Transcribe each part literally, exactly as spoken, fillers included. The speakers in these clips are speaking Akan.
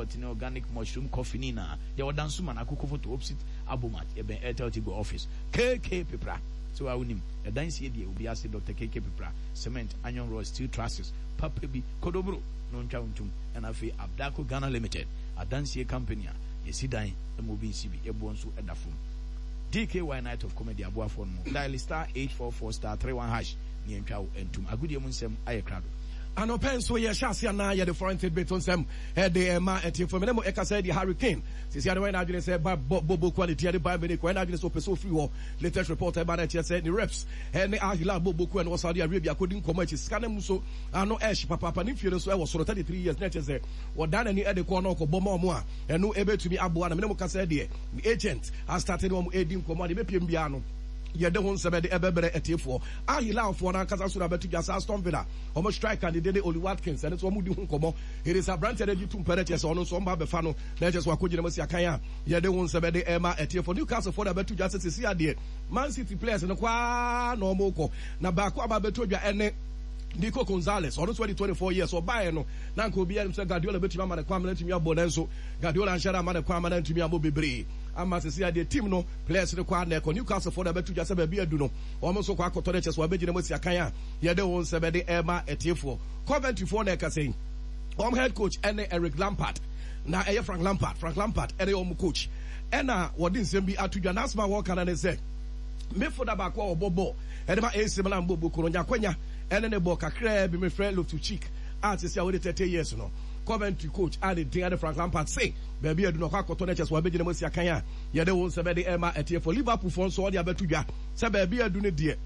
yogurt ne organic mushroom coffee ne nyinaa. Yɛwɔ Dansoman Akoko Photo opposite Abomat, yɛbɛn Airtel Tigo office. K K Pepra sɛ waa wonim ɛdansie deɛ obi ase Doctor K K Pepra, cement, iron rod, steel trusses papa bi kodobro na ɔntwa wo ntom. Ɛna afei Abdako Ghana Limited, adansie company a yɛsi dan ma obi nsi bi, yɛboɔ nso ɛda fam. D K Y Night of Comedy aboafoɔ no mu, dial star eight four four star three one hash ne yɛntwa wo ntom. Agodie mu nsɛm ayɛ krado. Anɔpɛ nso yɛhyɛ ase anaa yɛde foreign tidbit nsɛm ɛde ɛma ɛtiefo. Mene mo ɛka sɛ deɛ Harry Kane sisi ade wɔyɛ n'adwene sɛ ba bɔ bobo quality ɛde Bayern Munich, wɔyɛ n'adwene sɛ ɔpɛ sɛ ofiri hɔ. Latest report ɛba na ɛkyerɛ sɛ ne reps ɛne Al Hilal bobo kuo ɛne wɔ Saudi Arabia akɔdi nkɔmɔ akyi. Sika no mu so ano ɛhye papaapa. Ne mfie no nso ɛwɔ soro, thirty-three years, na ɛkyerɛ sɛ wɔdan n'ani ɛde kɔ na ɔkɔbɔ ma ɔmo a ɛno ɛbɛtumi aboa. Na mene mo ka sɛ deɛ ne agent astart ne ɔmo ɛdi nkɔmɔ a deɛ ɛbɛpiem biara no, yɛde ho nsɛm ɛde ɛbɛbrɛ ɛtiefoɔ. Al Hilalfoɔ no ankasa so na bɛto dwa sɛ Aston Villa ɔmo striker ne dede Oli Watkins, ɛno nso ɔmo di ho nkɔmmɔ. It is aberanteɛ no agye tum pɛ no, kyerɛ sɛ ɔno nso ɔmo ba abɛfa no na ɛkyerɛ sɛ wakɔgyina mu asi akan a yɛde ho nsɛm ɛde ɛma ɛtiefoɔ. Newcastle foɔ na bɛto dwa sɛ sɛsi adeɛ Man City players no kwaa na ɔmo kɔ, na baako aba bɛto dwa ɛne Nico Gonzalez. Ɔno nso adi twenty-four years. Ɔbaeɛ no na nka obiara nim sɛ Guardiola bɛtumi ama ne kwan ama no atumi abɔ, nanso Guardiola anhyɛ da ama ne kwan ama no antumi abɔ bebree ama sɛsi adeɛ team no players no kɔ na ɛkɔ. Newcastle foɔ na bɛto dwa sɛ baabi adu no, wɔn nso kɔ akɔtɔ no, kyɛ sɛ wɔabɛgyina mu asi akan a yɛde wɔn nsɛm ɛde ɛma ɛtiefoɔ. Coventry foɔ na ɛka sɛ wɔn head coach ɛne Eric Lampard, na ɛyɛ Frank Lampard. Frank Lampard ɛne wɔn coach, ɛna wɔde nsɛm bi ato dwa. N'asɛm a wɔka no ne sɛ midfielder baako a ɔbɔ bɔɔl ɛde ma A C Milan bɔ boko no nyakwanya ɛne ne bɔ kakraa bi, mefrɛ Loftus-Cheek a sisi a wɔde thirty years no. Coventry coach a ne din ade Frank Lampard se baabi adu no, ɔkɔ akɔtɔ no, kyɛ sɛ wɔabɛgyina mu asi akan a yɛde wo nsɛm ɛde ɛma ɛtiɛfo. Liverpool foɔ nso ɔde abɛto dwa sɛ baabi adu no deɛ,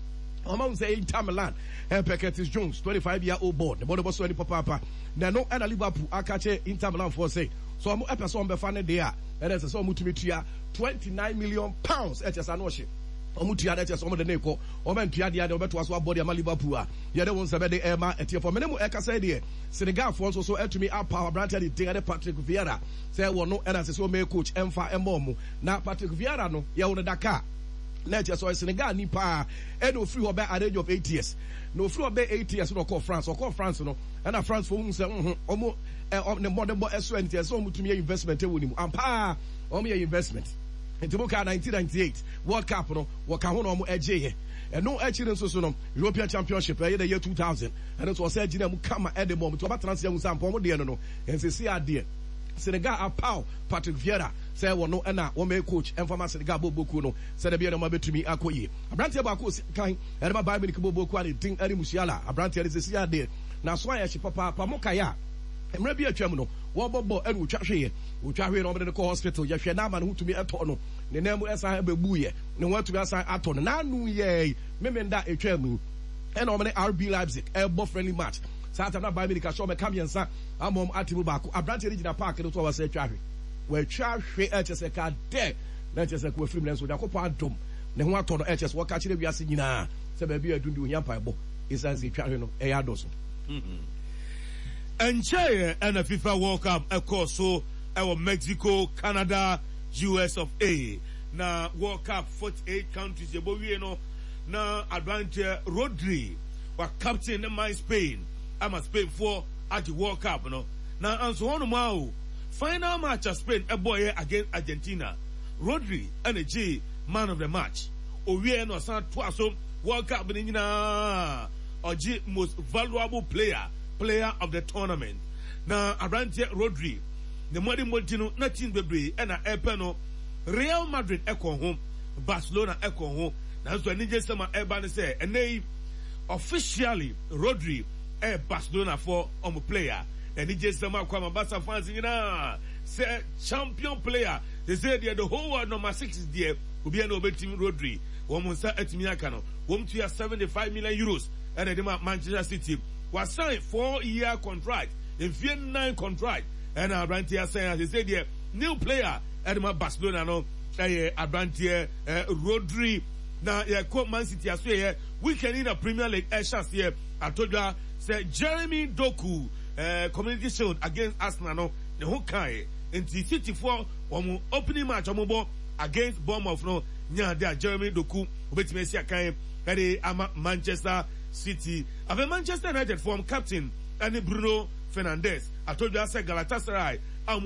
ɔma wo sɛ Inter Milan ɛpɛ Curtis Jones, twenty-five year old boy, ne bɔde bɔ so ani papaapa. Na ɛno ɛna Liverpool aka kyerɛ Inter Milan foɔ sɛ sɛ ɔmo ɛpɛ sɛ ɔmo bɛfa ne deɛ a, ɛna ɛsɛ sɛ ɔmo tumi tua twenty-nine million pounds. Ɛkyɛ sɛ ano ɔhye ɔmo tua no, ɛkyɛ sɛ ɔmo de ne kɔ. Ɔmo ntua deɛ deɛ ɔbɛtoa so abɔ deɛ ama Liverpool a yɛde wɔn nsɛm ɛde ɛma ɛtiɛfo. Mene mu ɛkasa deɛ, Senegalfoɔ nso so ɛtumi apaw aberanteɛ de den ɛde Patrick Vieira sɛ wɔno ɛna sɛ sɛ ɔmɛ coach ɛmfa ɛmɔ ɔmo. Na Patrick Vieira no, yɛwɔ no Dakar, na ɛkyɛ sɛ ɔyɛ Senegal ni paa, ɛna ofiri hɔ bɛ at age of eight years. Na ofiri hɔ bɛ eight years na ɔkɔɔ France. Ɔkɔɔ France no, ɛna France fo hu sɛ nhun ɔmo ɛ ne mmɔdenbɔ ɛso ɛne tiɛ sɛ ɔmo tumi yɛ investment ɛwɔ ne mu ampa. Ɔmo yɛ investment nti mo kaa nineteen ninety-eight World Cup no, wɔka ho na ɔmo ɛgye yɛ. Ɛno akyi no nso so no, European Championship ɛyɛ dɛ yɛ two thousand, ɛno nso ɔsɛ gyina mu kama ɛde bɔ ɔmo nti ɔba tena se ɛho sɛ ampa ɔmo deɛ no no nsisi adeɛ. Senegal apaw Patrick Vieira sɛ wɔno ɛna wɔn bɛyɛ coach ɛnfama Senegal bɔ bokuo no sɛdeɛ bɛyɛ na wɔn abɛtumi akɔ yie. Aberanteɛ baako osi kan ɛde ma Bayern Munich bɔ bokuo a ne din ɛne Musiala. Aberanteɛ no sisi adeɛ na so ayɛ hye papaapa. Mo kae a, mmerɛ bi atwam no, wɔbɔ bɔ ɛna otwa hweeɛ. Otwa hwee na wɔde no kɔ hospital, yɛhwɛ n'ama ne ho tumi ɛtɔ no, ne nan mu ɛsan ɛbɛbu yɛ ne ho atumi asan atɔ no. N'anu yɛ memenda etwa mu ɛna wɔn ne R B Leipzig ɛbɔ friendly match. Saa tam na Bayern Munich ahyɛ wɔn ɛka mmiɛnsa ama wɔn ate mu baako. Aberanteɛ no gyina park no so a wɔsɛ atwa hwe, wɔatwa hwe, ɛkyɛ sɛ ka dɛ na ɛkyɛ sɛ kò afirim, nanso Onyankopɔn adom ne ho atɔ no. Ɛkyɛ sɛ wɔka kyerɛ wiase nyinaa sɛ baabi a ɛdun de ohia mpaebɔ ɛsiane sɛ etwa hwe no ɛyɛ adɔso. Ɛnkyɛeɛ ɛna FIFA World Cup ɛkɔɔ so ɛwɔ Mexico, Canada, U S of A. Na World Cup, forty-eight countries yɛbɔ wie no, na aberanteɛ Rodri wa captain ne man Spain ama Spainfoɔ agye World Cup no. Na anso hɔnom a o, final match a Spain ɛbɔɔyɛ against Argentina, Rodri ɛna gye man of the match. Owie na ɔsan toa so World Cup no nyinaa ɔgye most valuable player, player of the tournament. Na aberanteɛ Rodri ne mmɔde no, na team bebree ɛna ɛpɛ no. Real Madrid ɛkɔ ho, Barcelona ɛkɔ ho, nanso anigye sɛm a ɛba ne sɛ ɛnɛ yi officially Rodri ɛyɛ Barcelona for ɔmo player. Anigye sɛm akɔ ama Barca fans nyinaa sɛ champion player they say deɛ the whole world number six deɛ, obiara na obetumi Rodri, wɔn nsa atumi aka no. Wɔn tua seventy five million euros ɛna ɛde ma Manchester City. Wasign four year contract, mfie nine contract ɛna aberanteɛ asign a sɛ deɛ new player ɛde ma Barcelona no ɛyɛ aberanteɛ ɛɛ Rodri. Na yɛkɔ Man City aso yɛ weekend yi na Premier League ɛhyɛ aseɛ atɔdwa sɛ Jeremy Doku, ɛɛ Community Shield against Arsenal no, ne ho kae nti City foɔ wɔn opening match wɔn bɔ against Bournemouth no nyaa de a Jeremy Doku obetumi asi akan ɛde ama Manchester City. Afei Manchester United form captain ɛne Bruno Fernandes atɔdwa sɛ Galatasaray a wɔn